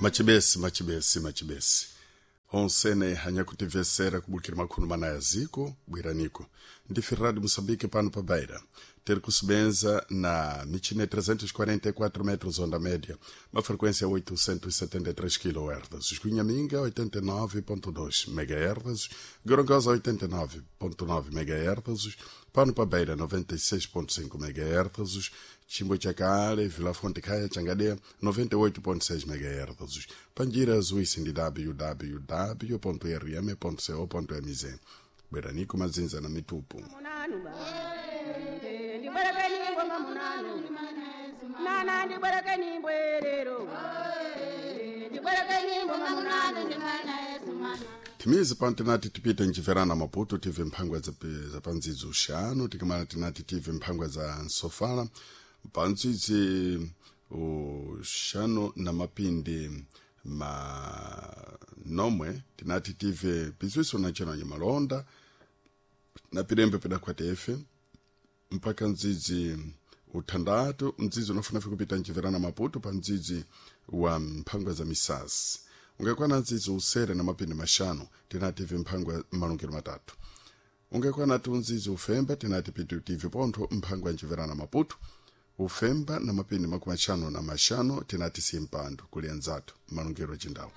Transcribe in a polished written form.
Machibesi, machibesi, machibesi onsene hanyakutivesera kubukira makhunu mana ya ziko bwiraniko ndife Rádio Moçambique pano pa Beira ter kusebenza na michine 344 metros onda média, uma frequência 873 kHz, Escunhaminga 89.2 MHz, Gorongosa 89.9 MHz, Pano pa Beira 96.5 MHz, Chimbo Chakale, Vila Fonte Caia, Changadea 98.6 MHz, Panjira Zuisi ndi www.rm.co.mz. Bweranico mazinza na mitupu. Timizi pano tinati tipite nchiverana Maputo tive mphangwa za pandzidzi uxanu, tikamala tinati tive mphangwa za nsofala pandzidzi uxanu na mapindi manomwe, tinati tive pizwiso nachonanyo malonda na pilembe pidakhwatefe mpaka ndzidzi uthandatu mdzidzi unafunafe kupita nchiverana Maputo pa mdzidzi wa mphangwa za misasi ungakwana ndzidzi usere na mapindi maxanu, tinati mphangwa malungiro matatu ungakwana tu ndzidzi ufemba, tinati pitu tive pontho mphangwa nchiverana Maputo ufemba na mapindi makumi axanu na maxanu, tinati simpando kuli anzathu malungiro achindawu.